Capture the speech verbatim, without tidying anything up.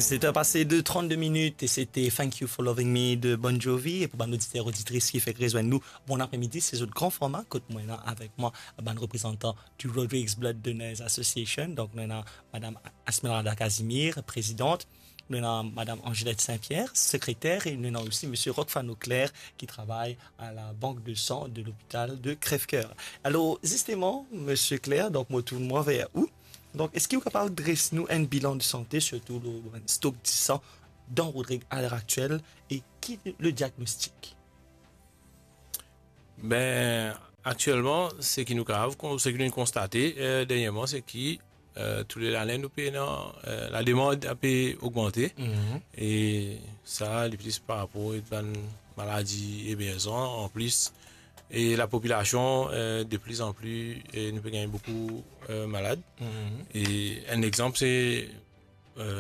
Seter pase de trannde minit e sete Thank You for Loving Me de Bon Jovi. E pou bann oditer, oditris ki fek rezwenn nou, bon apremidi, se zot Gran Forma kot mo ena avek mwa bann reprezantan du Rodrigues Blood Donors Association. Donk nou ena madam Esmeralda Casimir, prezidant, nou ena madam Angelette Saint-Pierre, sekreter, e nou ena osi misie Rockfano Claire ki travay a la bank de san de lopital de Crèvecoeur. Alor zisteman, misie Claire, donk mo tourn mwa ver ou. Donk eski ou kapav dres nou enn bilan de sante, sirtou lor enn stok disan dan Rodrig a ler aktiel, e ki le diagnostik? Ben, aktielman, seki nou kapav, seki nou konstate, eh, dernyerman, se ki, eh, tou le lane nou pe ena, eh, lademand pe ogmante. E sa, li plis par rapor ek bann maladi emerzan, anplis, e lapopilasion, eh, de pli an pli, eh, nou pe gagn boukou, eh, malad. E enn exanp, se, eh,